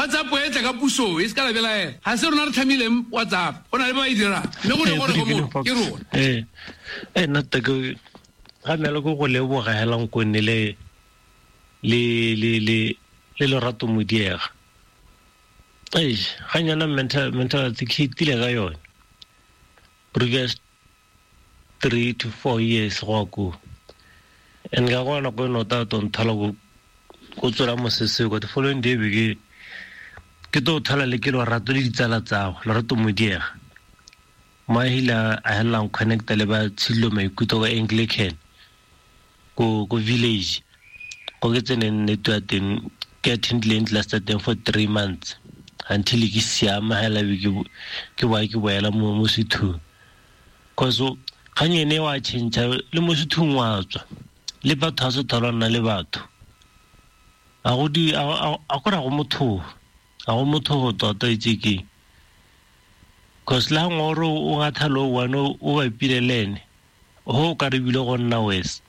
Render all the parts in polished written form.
WhatsApp e tla ka puso e se ka la belaela. Ga se rona re tlhamileng WhatsApp, go na le ba ba e dirang. Mme go ne gore go mo ke rona. Ee, ee nna tota ke ga mele ko go leboga hela nkonne le le le le le lerato modiega. Eish, ga nyana mental mental health ke hitile ka yone. Previous 3 to 4 years go ya koo. And ka go nako e nota to nthola ko ko tswela mosese ko the following day be ke ke to thola le ke lorato le ditsala tsago lorato modiega mo a ile a helelang connecta le ba tshilo maikutlo ka Anglican ko ko village ko ke tseneng network ya teng ke attendileng class tsa teng for 3 months until ke siama hela be ke ke boa ke boela mo mo sethung, cause kgang ene wa change le mo sethung wa tswa le batho a se thola nna le batho a go di a go ra go motho a go motho tota itse ke, cause la ngoro o ngatha lo one o bapile le ene ho ka re bile go nna wes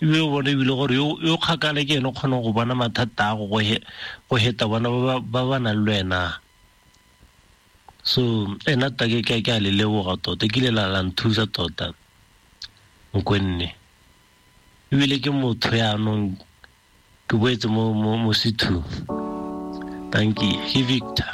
ebile o bone ebile gore yo kgakala ke ene o kgona go bona mathata a go go heta bona ba ba nang le wena. So ena ta ke ke a le leboga tota, ke ile la la nthusa tota nkonne ebile ke motho yaanong ke boetse mo mo mo sethung. Thank you, ke Victor.